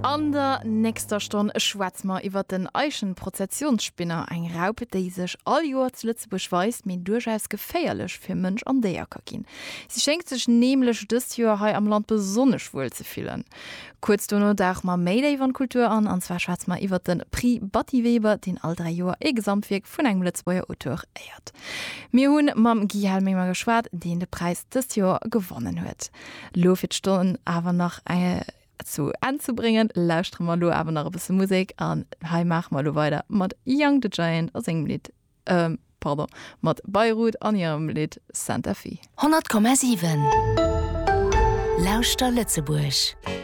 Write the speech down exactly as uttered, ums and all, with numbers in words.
An der nächster Stonn schwätze mer iwwer den Eichenprozessionsspinner, eng Raup, déi sech all Joer zu Lëtzebuerg weist, mee duerchaus geféierlech fir Mënsch an Déier ka ginn. Si schéngt sech nämlech dëst Joer hei am Land besonnesch wuel ze fillen. Kuerz dono dauche mer méi déif an d'Kultur an, an zwar schwätze mer iwwer de Prix Batty Weber, deen all dräi Joer e Gesamtwierk vun engem Lëtzebuerger Auteur éiert. Mir hunn mam Guy Helminger geschwat, deen de Präis dëst Joer gewonnen huet. Lo fir d'Stonn awer nach eng zu Enn ze bréngen, lauschtere mer lo awer nach e bësse Musek an hei maache mer lo weider mat Young the Giant a sengem Lidd ähm, pardon, mat Beirut an hirem Lidd Santa Fe. honnert Komma siwen Lauschter Lëtzebuerg.